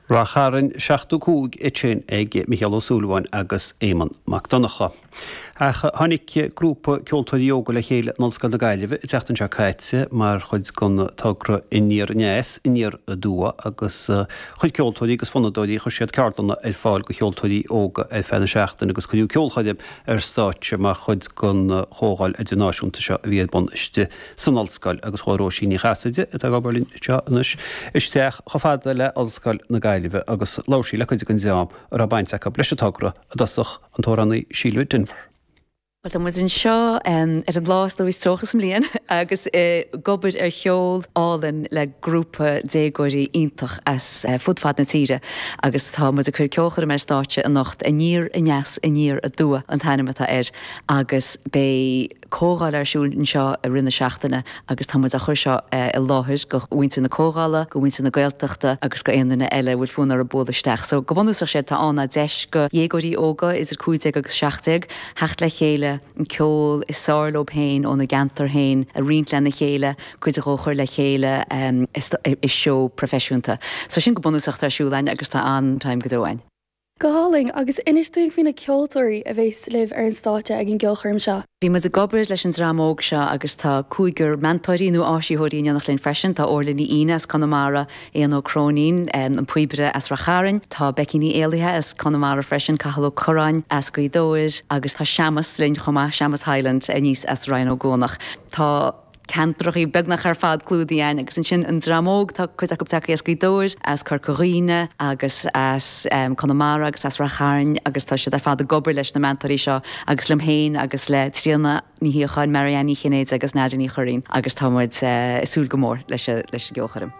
Rath Chairn 75 ansin ag Mícheál Ó Súilleabháin agus Éamonn Mac Donncha. Ach tháinig grúpa ceoltóirí óga le chéile in Ollscoil na Gaillimhe an tseachtain seo caite mar chuid den togra Aniar Aneas, Aniar Aduaidh agus chuir ceoltóirí agus fonnadóirí, chuir siad ceardlanna ar fáil do cheoltóirí óga ar feadh na seachtaine agus cuireadh ceolchoirm ar stáitse mar chuid den chomhdháil idirnáisiúnta seo a bhí ar bun istigh san ollscoil agus chuaigh Róisín Ní Chasaide, atá ag obair linn anseo anois, isteach chomh fada le Ollscoil na Gaillimhe agus labhair sí le cuid den dream a raibh baint acu leis an togra, i dtosach an t-amhránaí Síle Denvir. Bhuel, tá muid anseo ar an lá is dóigh is trócha sa mbliain agus ag obair ar cheol álainn le grúpa déagóirí iontach as fud fad na tíre agus tá muid ag cur ceolchoirm ar stáitse anocht, Aniar Aneas Aniar Aduaidh an t-ainm atá air agus beidh comhdháil ar siúl anseo i rith na seachtaine agus tá muid á chur seo i láthair go mhuintir na comhdhála, go mhuintir na Gaeltachta agus go aon duine eile a bhfuil fonn orthu bualadh isteach. So go bunúsach séard atá ann ná deis go dhéagóirí óga idir 15 agus 17 theacht le chéile, an ceol is fearr leo féin óna gceantar féin a roinnt lena chéile, cuid dhó a chur le chéile i seó proifisiúnta. So sin go bunúsach atá ar siúl againn agus tá an-time go deo againn. Go hálainn, agus inis dúinn faoi na ceoltóirí a bheas libh ar an stáitse ag an gceolchoirm seo. Bhí muid ag obair leis an dream óg seo agus tá cúigear meantóirí nó áisitheoirí in éineacht linn freisin. Tá Orla Ní Fhíne as Conamara, Éanna Ó Cróinín, an píobaire as Rath Chairn, tá Becky Ní Éallaithe as Conamara freisin, Cathal Ó Curráin as Gaoth Dobhair agus tá Seamus linn chomh maith, Seamus Hyland aníos as Rinn Ó gCuanach. Tá. ceantrachaí beagnach ar fad clúdaithe againn agus ansin an dream óg, tá cuid acu tagtha as Gaoth Dobhair, as Corca Dhuibhne agus as Conamara agus as Rath Chairn agus tá siad ar fad ag obair leis na meantóirí seo agus liom féin agus le Tríona Ní Shíocháin, Marianne Ní Chinnéide agus Nadia Ní Churraoin agus tá muid ag súil go mór leis an gceolchoirm.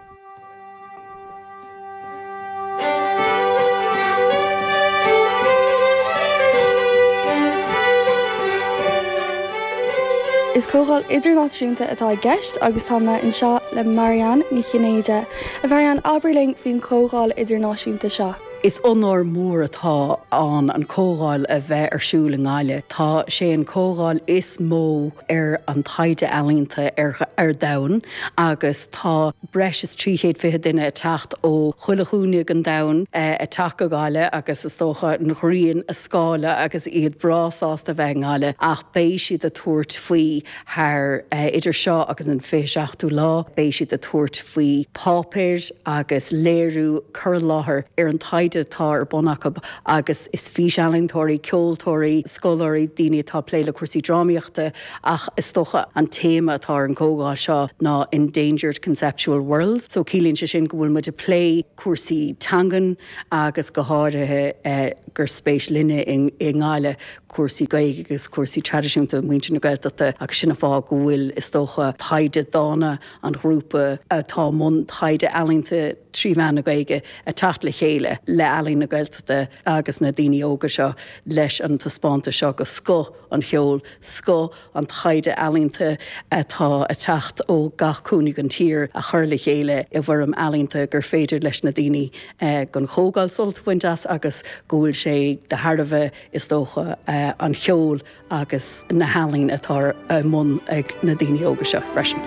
Is comhdháil idirnáisiúnta atá i gceist agus tá mé anseo le Marianne Ní Chinnéide. A Mharianne, abair linn faoin chomhdháil idirnáisiúnta seo. Is onóir mór atá ann an comhdháil a bheith ar siúl i nGaillimh. Tá sé an comhdháil is mó ar an taighde ealaíonta ar domhan agus tá breis is 320 duine ag teacht ó chuile chúinne den domhan ag teacht go Gaillimh agus is dócha an ghrian a scáileadh agus iad breá sásta a bheith i nGaillimh ach beidh siad ag tabhairt faoi thar idir seo agus an 27ú lá beidh siad ag tabhairt faoi páipéir agus léiriú cur i láthair ar an taighde atá ar bun acu agus is físealaíontóirí, ceoltóirí, scoláirí, daoine atá ag plé le cúrsaí drámaíochta ach is dócha an téama atá ar an gcomhdháil seo ná Endangered Conceptual Worlds so ciallaíonn sé sin go bhfuil muid ag plé cúrsaí teangan agus go háirithe gur spéis linne i nGaillimh cúrsaí Gaeilge agus cúrsaí traidisiúnta muintir na Gaeltachta agus sin an fáth go bhfuil is dócha taighde dána an ghrúpa atá i mbun taighde ealaíonta trí mheán na Gaeilge ag teacht le chéile le Ealaín na Gaeltachta agus na daoine óga seo leis an taispeántas seo go scoth an cheoil, scoth an taighde ealaíonta atá ag teacht ó gach cúinne den tír a chur le chéile i bhfoirm ealaíonta gur féidir leis na daoine den chomhdháil sult a bhaint as agus go bhfuil sé de thairbhe, is dócha, an cheoil agus na healaín atá i mbun ag na daoine óga seo freisin.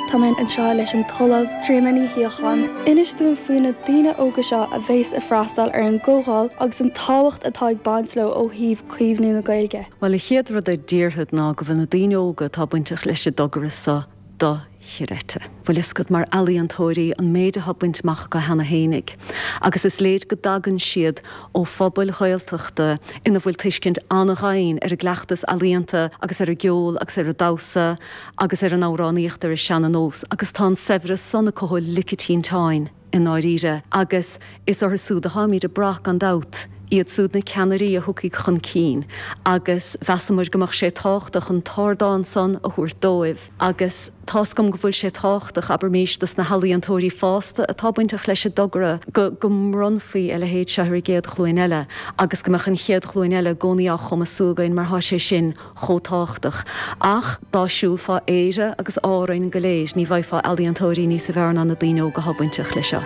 Tá mé anseo leis an tOllamh Tríona Ní Shíocháin. Inis dúinn faoi na daoine óga seo a bheas ag freastal ar an gcomhdháil agus an tábhacht atá ag baint leo ó thaobh caomhnú na Gaeilge. Bhuel, an chéad rud a déarfad ná go bhfuil na daoine óga atá bainteach leis an dtogra seo dochreidte. Bhfuil fhios agat, mar ealaíontóirí, an méid atá bainte amach acu cheana fhéinig. Agus is léir go dtagann siad ó phobail Ghaeltachta ina bhfuil tuiscint an-dhoimhin ar an gcleachtas ealaíonta agus ar an gceol agus ar an damhsa agus ar an amhránaíocht ar an seana-nós agus tá an saibhreas san acu ó lic an tinteáin i ndáiríre agus is orthu súd atáimid ag brath gan dabht, iad súd na ceannairí a thiocfaidh chun cinn agus mheasamar go mbeadh sé tábhachtach an t-ardán san a thabhairt dóibh agus tá's agam go bhfuil sé tábhachtach, abraimís, dos na healaíontóirí fásta atá bainteach leis an dtogra go go mbronnfaí a leithéid seo ar an gcéad ghlúin eile agus go mbeadh an chéad ghlúin eile i gcónaí á chumasú againn mar tá sé sin chomh tábhachtach. Ach dá siúlfá Éire agus Árainn go léir, ní bhfaighfeá ealaíontóirí níosa bhfearr ná na daoine óga atá bainteach leis seo.